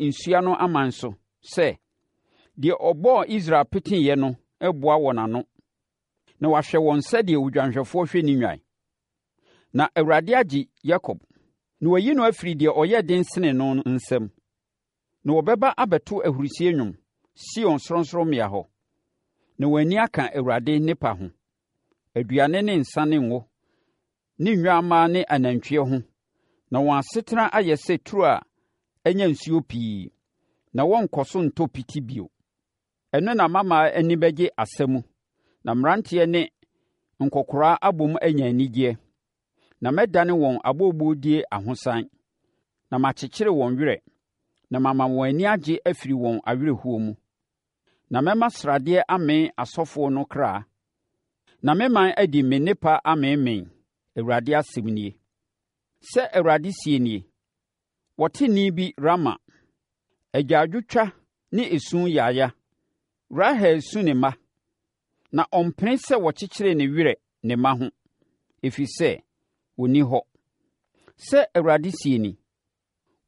nsuano aman so sɛ, Deɛ ɔbɔɔ Israel peteeɛ no reboa wɔn ano, na wahwɛ wɔn sɛdeɛ odwanhwɛfoɔ hwɛ ne nnwan. Na Awurade agye Yakob, na wayi no afiri deɛ ɔyɛ den sene no no nsam. Na wɔbɛba abɛto ahurisie nnwom Sion sorɔnsorɔmmea hɔ, na wɔn ani aka Awurade nnepa ho, aduane ne nsã ne ngo, ne nnwammaa ne anantwie ho, na wɔn asetena ayɛ sɛ turo a anya nsuo pii, na wɔrenkɔ so ntɔ piti bio. Ɛno na mmammaa ani bɛgye asa mu, na mmeranteɛ ne nkɔkoraa abom anya anigyeɛ. Na mɛdane wɔn abooboodie ahosan, na makyekyere wɔn werɛ, na mama wɔn ani agye afiri wɔn awerɛhoɔ mu. Na mɛma sradeɛ amee asɔfoɔ no kra, na me man adi me nnepa ameemee, Awurade asɛm nie. Sɛ Awurade seɛ nie, Wɔte nne bi Rama, agyaadwotwa ne esu yaya. Rahel resu ne mma, na ɔmpene sɛ wɔkyekyere ne werɛ ne mma ho, ɛfiri sɛ wɔnni hɔ. Sɛ Awurade seɛ ni,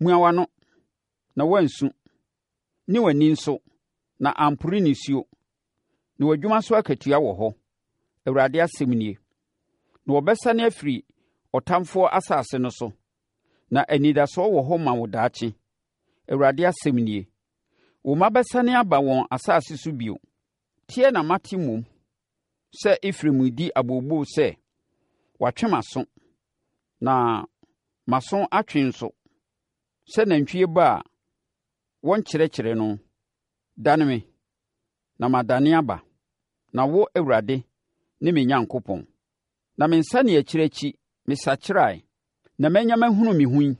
Mua w'ano, na woansu, ne w'ani nso, na ampore nisuo, na w'adwuma so akatua wɔ hɔ, Awurade asɛm nie. Na wɔbɛsane afiri ɔtamfoɔ asase no so, na anidasoɔ wɔ hɔ ma wo daakye, Awurade asɛm nie. Wo mma bɛsane aba wɔn asase so bio. Teɛ na mate mmom sɛ Efraim redi abooboo sɛ, Wɔatwe m'aso, na m'aso atwe nso, sɛ nantwie ba a wɔnkyerɛkyerɛ no. Dane me, na madane aba, na wo, Awurade, ne me Nyankopɔn. Na me nsaneakyire akyi, mesakyerae, na manya mahunu me ho yi,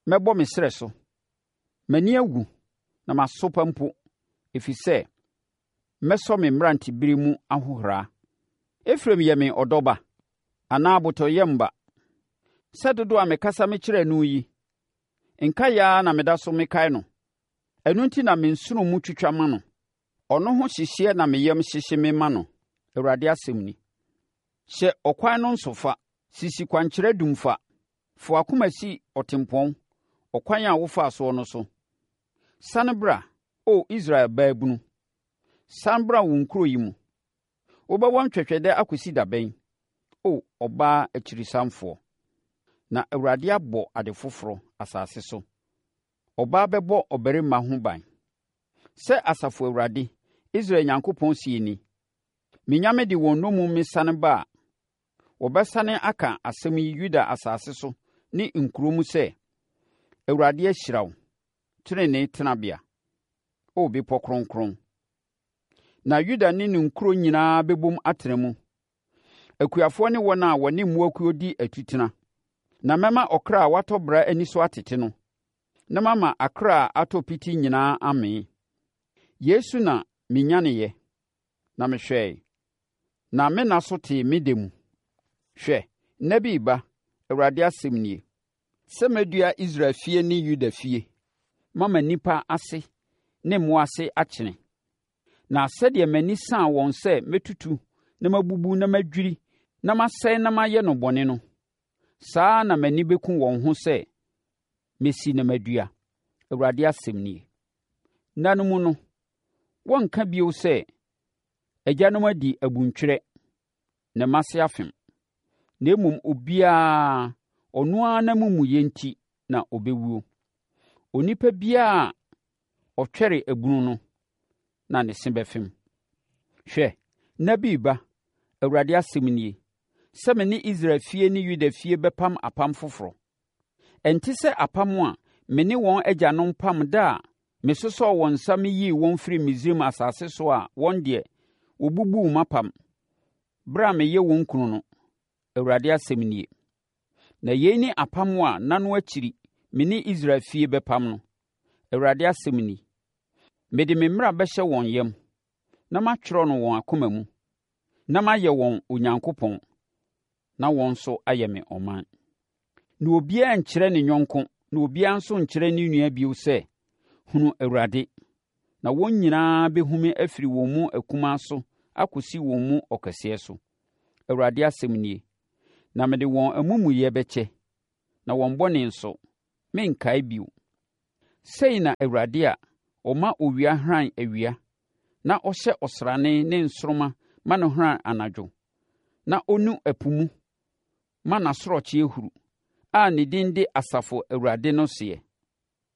mɛbɔ me srɛ so. M'ani awu, na masopa mpo, ɛfiri sɛ mɛsɔ me mmeranteberɛ mu ahohora. Efraim yɛ me ɔdɔ ba, anaa abotɔyam ba? Sɛ dodoɔ a mekasa mekyerɛɛ no yi, nkaeɛ ara na meda so mekae no. Ɛno nti na me nsono mu twitwa ma no. Ɔno ho hyehyeɛ na me yam hyehye me ma no, Awurade asɛm ni. Hyɛ ɔkwan no nso fa, sisi kwankyerɛ dum fa. Fa w'akoma si ɔtempɔn, ɔkwan a wofaa soɔ no so. Sane bra, O Israel baabunu, sane bra wo nkuro yi mu. Wobɛwɔ ntwɛtwɛdɛ akɔsi da bɛn, O ɔbaa akyirisanfoɔ? Na Awurade abɔ ade foforɔ, asase so. Ɔbaa bɛbɔ ɔbarima ho ban. Sɛ Asafo Awurade, Israel Nyankopɔn seɛ ni, Menya mede wɔn nnommum mesane ba a, wɔbɛsane aka asɛm yi Yuda asase so ne nkuro mu sɛ, 'Awurade ahyira wo, tenenee tenabea, O bepɔ kronkron. Na Yuda ne ne nkuro nyinaa bɛbom atena mu, akuafoɔ ne wɔn a wɔne mmoakuo di atutena. Na mɛma ɔkra a watɔ bera ani so atete no, na mama akra a atɔ piti nyinaa amee. Yei so na menyaneeɛ, na mehwɛe, na me nna so tee me dɛ mu. Hwɛ, nna bi reba, Awurade asɛm nie, sɛ mɛdua Israel fie ne Yuda fie mama nnipa ase ne mmoa ase akyene. Na sɛdeɛ m'ani saa wɔn sɛ mɛtutu na mabubu na madwiri na masɛe na mayɛ no bɔne no, saa ara na m'ani bɛku wɔn ho sɛ mɛsi na madua, Awurade asɛm nie. Nna no mu no, wɔrenka bio sɛ, 'Agyanom adi abuntwerɛ, na mma ase afem. Na mmom obiara, ɔno ara n'amumuyɛ nti na ɔbɛwuo. Onipa biara a ɔtwɛre abunu no na ne se bɛfem. Hwɛ, nna bi reba, Awurade asɛm nie, sɛ me ne Israel fie ne Yuda fie bɛpam apam foforɔ. Ɛnte sɛ apam a me ne wɔn agyanom pam da a mesosɔɔ wɔn nsa meyii wɔn firii Misraim asase so a wɔn deɛ, wɔbubuu m'apam, berɛ a meyɛ wɔn kunu no, Awurade asɛm nie. Na yei ne apam a nna no akyiri me ne Israel fie bɛpam no, Awurade asɛm ni. Mede me mmara bɛhyɛ wɔn yam, na matwerɛ no wɔn akoma mu, na mayɛ wɔn Onyankopɔn, na wɔn nso ayɛ me ɔman. Na obiara nkyerɛ ne yɔnko na obiara nso nkyerɛ ne nua bio sɛ, 'Hunu Awurade! Na wɔn nyinaa bɛhu me afiri wɔn mu akumaa so akɔsi wɔn mu ɔkɛseɛ so, Awurade asɛm nie. Na mede wɔn amumuyɛ bɛkyɛ, na wɔn bɔne nso, merenkae bio. Sei na Awurade a ɔma owia hran awia, na ɔhyɛ ɔsrane ne nsoromma ma no hran anadwo, na ɔnu ɛpo mu ma n'asorɔkyeɛ huru, a ne din de Asafo Awurade no seɛ.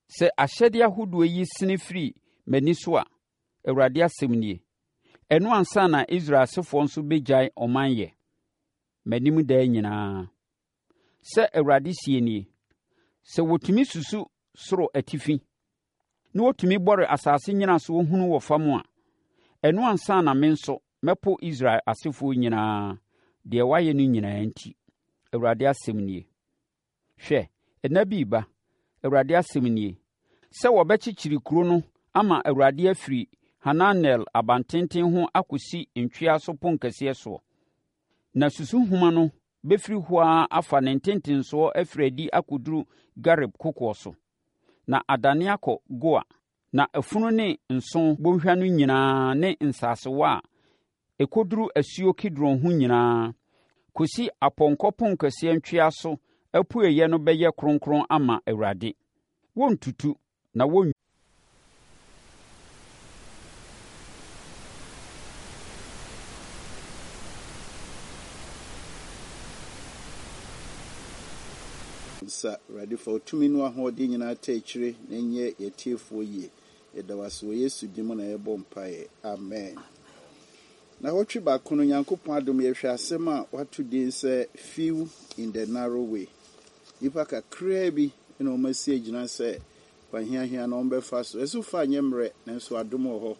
Sɛ ahyɛdeɛ ahodoɔ yi sene firi m'ani so a, Awurade asɛm nie, ɛno ansa na Israel asefoɔ nso bɛgyae ɔman yɛ, m'anim daa nyinaa. Sɛ Awurade seɛ nie, Sɛ wɔtumi susu soro atifi, na wɔtumi bɔre asase nnyinasoɔ hunu wɔ fam a, ɛno ansa na me nso mɛpo Israel asefoɔ nyinaa, deɛ wɔayɛ no nyinaa nti, Awurade asɛm nie. Hwɛ, nna bi reba, Awurade asɛm nie, sɛ wɔbɛkyekyere kuro no ama Awurade afiri Hananel abantenten ho akɔsi ntweaso ponkɛseɛ soɔ. Na susuhoma no bɛfiri hɔ ara afa ne ntentensoɔ afiri adi akɔduru Gareb kokoɔ so, na adane akɔ Goa. Na afunu ne nsõ bɔnhwa no nyinaa ne nsasewa a ɛkɔduru asuo Kidron ho nyinaa, kɔsi apɔnkɔ ponkɛseɛ ntweaso apueeɛ no bɛyɛ kronkron ama Awurade. Wɔrentutu, na wɔn. Nsa, Awurade fa wo tumi ne w'ahoɔden nyinaa taa akyire na ɛnyɛ yɛn atiefoɔ yie. Yɛda wo ase wɔ Yesu din mu na yɛbɔ mpaeɛ. Amen. Nnawɔtwe baako no, Nyankopɔn adom yɛhwɛ asɛm a wɔato din sɛ Few in the Narrow Way. Nnipa kakraa bi na wɔasi agyina sɛ kwan hiahia na wɔbɛfa so. Ɛso fa nyɛ mmerɛ, nanso adom wɔ hɔ.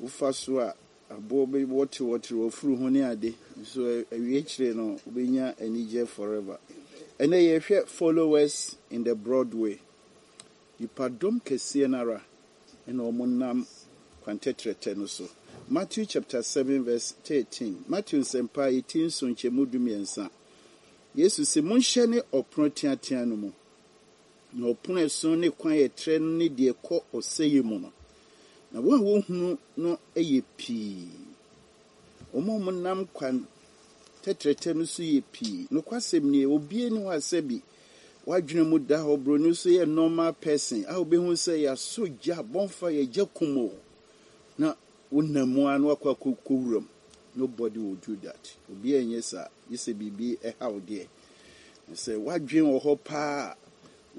Wofa so a, aboɔ bɛwɔterewɔtere w'afuru ho ne ade, nso awie akyire no, wobɛnya anigyeɛ forever. Ɛnnɛ yɛrehwɛ Followers in the Broad Way. Nnipadɔm kɛseɛ no ara na wɔnam kwan tɛtrɛtɛ no so. Matthew chapter 7 verse 13. Matthew nsɛmpa eti nson nkyɛmu 13. Yesu se, Monhyɛne ɔpono teatea no mu, na ɔpono a ɛso ne kwan a ɛtrɛ no ne deɛ ɛkɔ ɔsɛeɛ mu no, na wɔn a wɔhunu no yɛ pii. Wɔn a wɔnam kwan tɛtrɛtɛ no so yɛ pii. Nokwasɛm nie, obiara nni hɔ a sɛbi w'adwene mu da hɔ, buroni nso yɛ normal person a wobɛhu sɛ yɛasɔ gya, bonfire, gya kum o, na wonam mu ara na wakɔ akɔkɔ wuram. Nobody will do that. Obiara nyɛ saa, gye sɛ biribi ɛha wo deɛ. Na sɛ w'adwene wɔ hɔ paa a,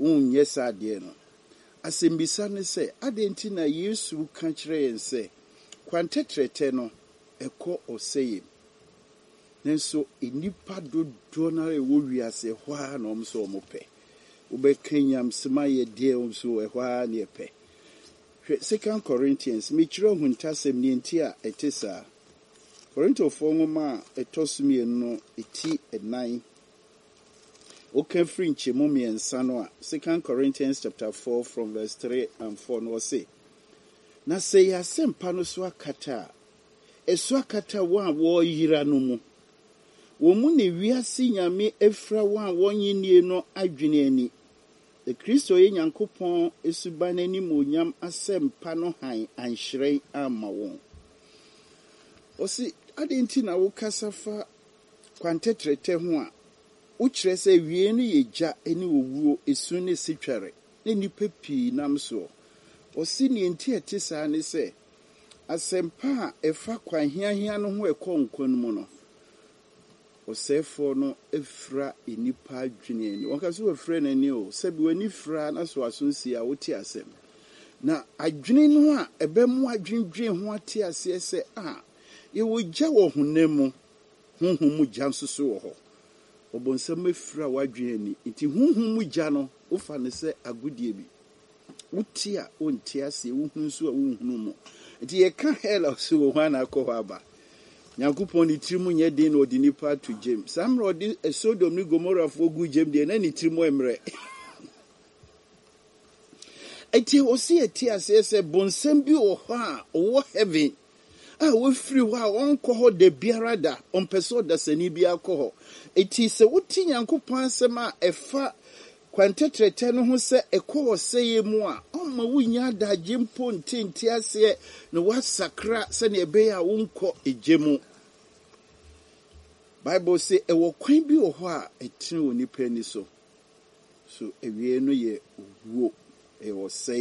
wonyɛ saa adeɛ no. Asɛmmisa ne sɛ, adɛn nti na Yesu ka kyerɛ yɛn sɛ kwan tɛtrɛtɛ no ɛkɔ ɔsɛeɛ mu? Nanso nnipa dodoɔ no ara a ɛwɔ wiase, ɛhɔ ara na wɔn nso wɔpɛ. Wobɛka nyamesɛm ayɛ deɛ wɔn nso ɛhɔ ara na yɛpɛ. Hwɛ Second Corinthians, mekyerɛ ahuntasɛm deɛ nti a ɛte saa. Korintofoɔ nwoma a ɛtɔ so mmienu no ti nnan, woka firi nkyɛmu mmiɛnsa no a, Second Corinthians chapter 4 from verse 3 and 4 no ɔse, Na sɛ yɛn asɛmpa no so akata a, ɛso akata wɔn a wɔreyera no mu. Wɔn mu na wiase nyame afira wɔn a wɔnnye nnie no adwene ani, na Kristo a ɔyɛ Nyankopɔn suban animuonyam asɛmpa no hann anhyerɛn amma wɔn. Ɔse, adɛn nti na wokasa fa kwan tɛtrɛtɛ ho a wokyerɛ sɛ awiei no yɛ gya ne owuo, esu ne setwɛre, na nnipa pii nam soɔ? Ɔse, nea enti a ɛte saa ne sɛ, Asɛmpa a ɛfa kwan hiahia no ho a ɛkɔ nkwa no mu no, ɔsɛefoɔ no fira nnipa adwene ani. Wɔka sɛ wafira n'ani o, sɛbi w'ani fira na so aso nsi a wote asɛm. Na adwene no a ɛbɛmo adwendwen ho ate aseɛ sɛ a yɛwɔ gya wɔ honam mu, honhom mu gya nso so wɔ hɔ. Ɔbonsam afira w'adwene ani, nti honhom mu gya no wofa no sɛ agodie bi. Wote a, wonte aseɛ, wohunu nso a, wonhunu mu. Nti yɛka hell a, ɔse wɔ hwan na akɔ hɔ aba? Nyankopɔn ne tirim nyɛ den na ɔde nipa ato gyem. Saa mmerɛ ɔde Sodom ne Gomorafoɔ gu gyem deɛ, na ne tirim mmerɛ. Nti ɔse yɛte aseɛ sɛ bonsam bi wɔ hɔ a ɔwɔ heaven a wafiri hɔ a ɔnkɔ hɔ da biara da, ɔmpɛ sɛ ɔdasani biara kɔ hɔ. Enti sɛ wote Nyankopɔn asɛm a ɛfa kwan tɛtrɛtɛ no ho sɛ ɛkɔ ɔsɛeɛ mu a, ɔmma wunnya adagye mpo nte nteaseɛ na woasakra sɛnea ɛbɛyɛ a wonkɔ egya mu. Bible se ɛwɔ kwan bi wɔ hɔ a ɛtene wɔ nipa ani so, so awiei no yɛ owuo. Ɛyɛ ɔsɛeɛ.